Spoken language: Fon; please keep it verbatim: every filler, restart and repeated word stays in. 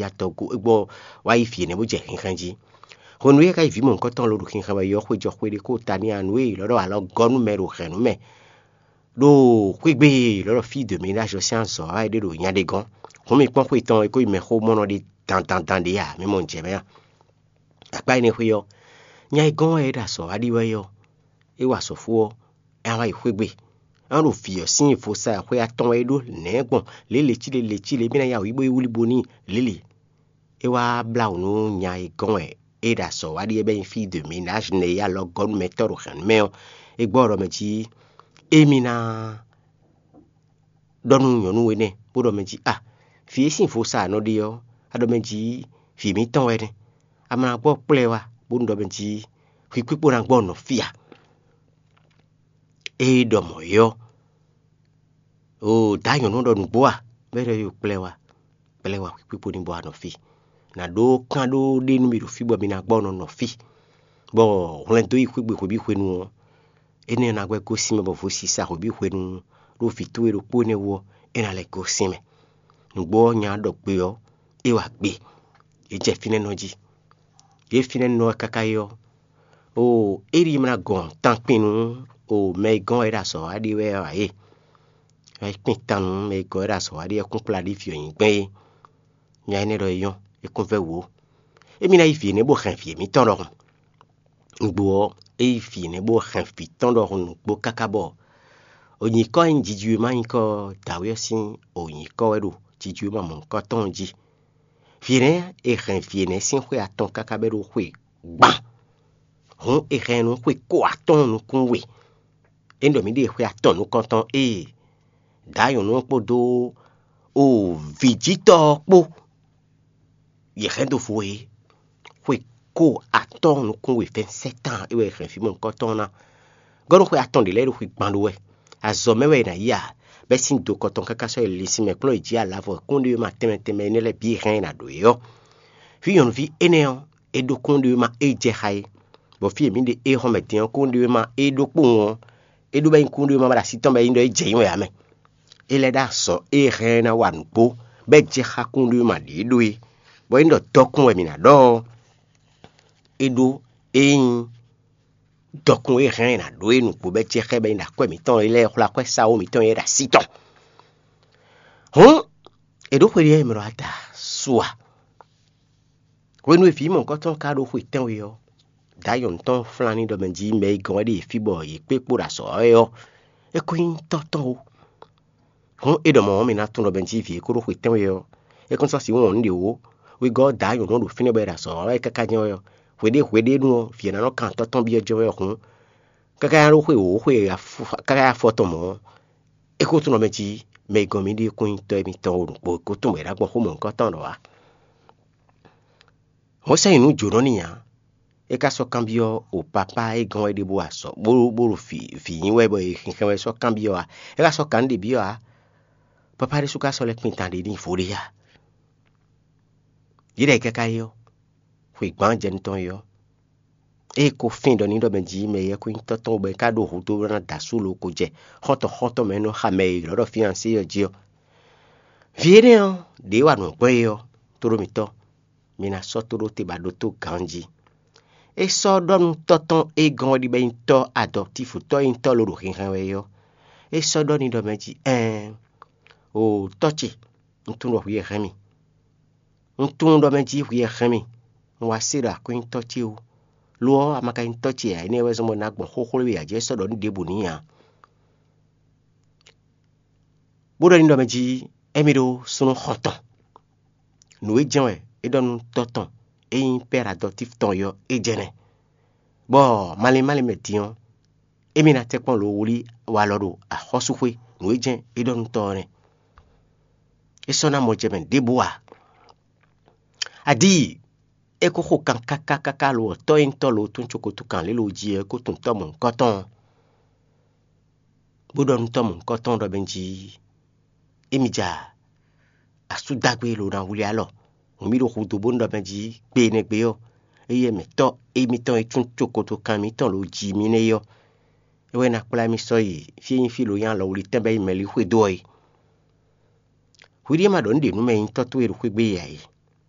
ya tɔ́ gú é gbɔ wá yi vǐ énɛ́ bó jɛ xinxɛ́n jí. Hwenu e é ka yi vǐ mɔ̌hunkɔtɔn ló ɖo xinxɛ́n wɛ yɔ́ xwé jɔ xwé ɖé kó ta n'i anu e lɔ̌ ɖɔ alɔ gɔ́ nú mɛ ɖo hɛ̌nnu mɛ ɖo xwé gbe e lɔ̌ ɖɔ fí dǒ mɛ ɖó azɔ̌ sín azɔ̌ wá é ɖé ɖo nya ɖé gɔ́n. Hǔn mi kpɔ́n xwé tɔn e ko yi mɛxó mɔnɔ ɖé dandandan ɖě a, mi mɔ nǔ jɛ mɛ a? Akpá énɛ́ xwé ɔ́, nya e gɔ́n wɛ é ɖo azɔ̌ wá ɖi wɛ ɔ́, é wa azɔ̌ fó ɔ́, é wá yi xwé gbe. É wá ɖo vǐ ɔ́ sín vo sa xwé atɔn wɛ é ɖó nɛ̌ gbɔn lě lěcíle lěcíle, é bɛ́ ná ya wǔ yi bó yi wlí bo n'i lělě. É wá blá wǔ nú nya e gɔ́n wɛ é ɖo azɔ̌ wá ɖi é bɛ́ nyí fí de ménage nɛ e alɔ gɔ́ nú mɛtɔ́ ɖo hɛ̌nnu mɛ ɔ́, é gbɔ ɖɔ mɛ jí émí ná ɖɔ nú nyɔ̌nu énɛ́ bó ɖɔ mɛ jí a, vǐ e sín vo sa a nɔ ɖe ɔ́, a ɖɔ mɛ jí vǐ mǐtɔn wɛ nɛ́. A ma ná gbɔ kplá ɛ wá bónú ɖɔ mɛ jí hwi kpíkpó ná gbɔ nɔ fí a? Ée ɖɔ mɔ̌ é ɔ́, oo dǎ nyɔ̌nu ɖɔ nǔgbó a? Bɔ é ɖɔ yó kplá ɛ wá, kplá ɛ wá hwi kpíkpó ní bɔ wá nɔ fí. Nǎ ɖó kán ɖó ɖé nú mì ɖo fí bɔ mi ná gbɔ nɔ nɔ fí. Bɔ hwlɛndo yi xwé gbe hwebǐ hwenu ɔ́, énɛ́ ná gbɛ́ gosín mɛ bɔ vo sisa hwebǐ hwenu ɖó vǐ towe ɖokpó énɛ́ wú ɔ́, é ná lɛ́ gosín mɛ. Nǔgbó ɔ́ nya ɖɔ gbe ɔ́, é wa gbe. Yě jɛ fínɛ́ nɔ jí. Yě fínɛ́ nɔ ɔ́ káká yi ɔ́, oo éɖi ma ná gɔn tankpin nú o mɛ e gɔ́n wɛ é ɖo azɔ̌ wa ɖe wɛ ɔ́ ǎ é. Wɛ kpin tan nú mɛ e gɔ́n wɛ é ɖo azɔ̌ wa ɖe ɔ́ kún kplá ɖi vǐ ɔ́ nyi gbɛn é. Nya énɛ́ ɖɔ é nyɔ́, é kún vɛ́ wǔ ó. Émí ná yi vǐ énɛ́ bó hɛn vǐ émítɔn ɖɔhun. Nǔgbó ɔ́, é yi vǐ énɛ́ bó hɛn vǐ tɔn ɖɔhun nǔgbó káká bɔ o nyǐkɔ e nyí jiji e ma nyí kɔ dǎwe ɔ́ sín o nyǐkɔ wɛ ɖo jiji e ma mɔ nyǐkɔ tɔn jí. Vǐ énɛ́ e hɛn vǐ énɛ́ sín xwé atɔn káká bɛ́ ɖó xwe gban. Hǔn è hɛn nú xwe kó atɔ́ɔ́n nukún we. É ɖɔ mǐ ɖe xwe atɔn nukɔntɔn ée dǎ nyɔ̌nu ɔ́ kpódó o vǐjítɔ́ ɔ́ kpó yě hɛn dó vo é. Xwe kó atɔ́ɔ́n nukún we fɛ́n sɛ́tán é wɛ è hɛn fí mɔ̌hunkɔtɔn ɔ́ ná. Gɔ́ nú xwe atɔn ɖě lɛ́ɛ ɖo xwe gban ɖó wɛ. Azɔ̌ mɛ wɛ è nǎ yi a? Bɛ́ sín do kɔtɔn káká sɔ́ yi linsin mɛ kplɔ́n yi jǐ alavɔ kúnɖéwéma tɛnmɛ tɛnmɛ énɛ́ lɛ́ɛ bǐ hɛn è nǎ ɖǒ é ɔ́, fí nyɔ̌nuví énɛ́ ɔ́, é ɖó kúnɖéwéma é jɛ xá é, bɔ fí e mǐ ɖe éhɔ́nmɛ din ɔ́, kúnɖéwéma é ɖó kpowun ɔ́, é ɖó bɔ é nyí kúnɖéwéma bɔ é ɖo así tɔn bɔ é nyí ɖɔ é jɛ nyí wɛ ǎ mɛ. É lɛ́ ɖó azɔ̌ e hɛn ná wa nǔgbó, bɔ é jɛ xá kúnɖéwéma ɖě ɖó é, bɔ é nyí ɖɔ dɔkun wɛ mǐ ná ɖɔ ɔ́, é ɖó é nyí dɔkun e hɛn ná ɖó é nǔgbó bɔ é jɛ xá ɛ bɔ é nyí ɖo akwɛ́ mǐtɔn e lɛ́ɛ xwlá akwɛ́ sáwó mǐtɔn e ɖo así tɔn. Hǔn è ɖǒ xwe ɖé mɛ ɖo ada su a? Hwenu e vǐ mɔ̌hunkɔtɔn ka ɖó xwe tɛ́nwe ɔ́, dǎ nyɔ̌nu tɔn flán ní ɖɔ mɛ jí mɛ e gɔ́n wɛ ɖe yě fí bɔ yě kpé kpo ɖo azɔ̌ ɔ́ wɛ ɔ́, é kún nyí tɔ́ tɔn ó. Hǔn é ɖɔ mɔ̌ ɔ́, mi ná tunwun ɖɔ mɛ jí vǐ e ko ɖó xwe tɛ́nwe ɔ́, é kún sɔ́ sǐ wɔn nǔ ɖě ó. Wegɔ́ ɔ́, dǎ nyɔ̌nu ɔ́ ɖo fínɛ́ bɔ é ɖo azɔ̌ ɔ́ wɛ káká jɛ́n wɛ ɔ́, hweɖée hweɖée nu ɔ́, vǐ ɔ́ ná nɔ kan tɔ́ tɔn byɔ́ jɛ́n wɛ ɔ́ hǔn, káká ɖó xwe wǒ xwe káká afɔ tɔn mɔ̌ ɔ́, é ko tunwun ɖɔ mɛ jí mɛ e gɔ́n mì ɖe kún nyí tɔ́ émítɔn ó ɖokpó, é ko tunwun bɔ è nǎ gbɔn xó mɔ̌hunkɔtɔn ɖɔ ǎ. Hɔn sɛ́ nyi nǔ jǒnɔ n'i ǎ. É ka sɔ́ kanbyɔ́ o papá e gɔ́n wɛ ɖěbǔ ǎ sɔ bó bó ɖo vǐ vǐ nyi wɛ bɔ è xinxɛn wɛ sɔ́ kanbyɔ́ ǎ. É ka sɔ́ kan nǔ ɖě byɔ́ ǎ. Papá ɖésú ka sɔ́ lɛ́ kpin tan ɖě n'i vo ɖé ǎ. Yě ɖɔ káká é ɔ́, xwe gbǎn jɛ nú tɔn é ɔ́, ée ko fín ɖɔ ní ɖɔ mɛ jí mɛ e yɛ kó nyí tɔ́ tɔn bɔ é ka ɖo hudó ná da asú lo ko jɛ xɔ́ntɔn xɔ́ntɔn mɛ e nɔ xa mɛ e ylɔ̌ ɖɔ fíansé ɔ́ jí ɔ́, vǐ énɛ́ ɔ́, ɖě wa nǔ gbɔn é ɔ́, tóɖó mǐtɔn, mi ná sɔ́ tóɖó te ba ɖótó ganjí. É sɔ́ ɖɔ nú tɔ́ tɔn e gɔ́n ɔ́ ɖi bɔ é nyí tɔ́ adɔktífu tɔ́ e nyí tɔ́ lo ɖo xinxɛn wɛ é ɔ́, é sɔ́ ɖɔ n'i ɖɔ mɛ jí ɛɛn, oo tɔ́ ce, un tunwun ɖɔ hwi wɛ hɛn mì. Un tunwun ɖɔ mɛ jí hwi wɛ hɛn mì. Un wá se ɖo akwɛ́nyítɔ́ ce wú. Lo ɔ́, a ma ka nyí tɔ́ ce ǎ, énɛ́ wɛ zɔ́n bɔ un ná gbɔn xóxó e a jɛ sɔ́ ɖɔ nú ɖěbǔ n'i ǎ. Bó ɖɔ n'i ɖɔ mɛ jí émí ɖó súnnu xɔntɔn. Nǔ e jɛ́n wɛ é ɖɔ nú tɔ́ tɔn e nyí pɛ́ adɔtífu tɔn é ɔ́, é jɛ́n nɛ́. Bɔ malín málín mɛ din ɔ́, émí ná tɛ́nkpɔ́n lo wlí walɔ ɖo axɔ́súxwé, nǔ e jɛ́n é ɖɔ nú tɔ́ ɔ́ nɛ́. É sɔ́ ná mɔ jɛ mɛ ɖěbǔ ǎ. Adíi, é kó xo kan káká káká lo ɔ́, tɔ́ e nyí tɔ́ lo tún cokoto kan lě lo jí ɔ́, é kó tunwun tɔ́ mɔ̌hunkɔtɔn ɔ́, bó ɖɔ nú tɔ́ mɔ̌hunkɔtɔn ɖɔ mɛ jí émí ja asú dó agbe lo ná wlí alɔ. Hǔn mì ɖo hudó bónú ɖɔ mɛ jí gbe énɛ́ gbe ɔ́, éyɛ́ mɛ tɔ́ émítɔn e tún cokoto kan mǐtɔn lo jí mì nɛ́ é ɔ́, é wɛ ná kplá mì sɔ́ yi fí e nyí fí lo nyí alɔwlítɛn bɔ é nyí mɛlí xwedó ɔ́ é. Hwiɖée ma ɖɔ nǔ ɖě nú mɛ e nyí tɔ́ towe ɖo xwé gbe é ǎ é.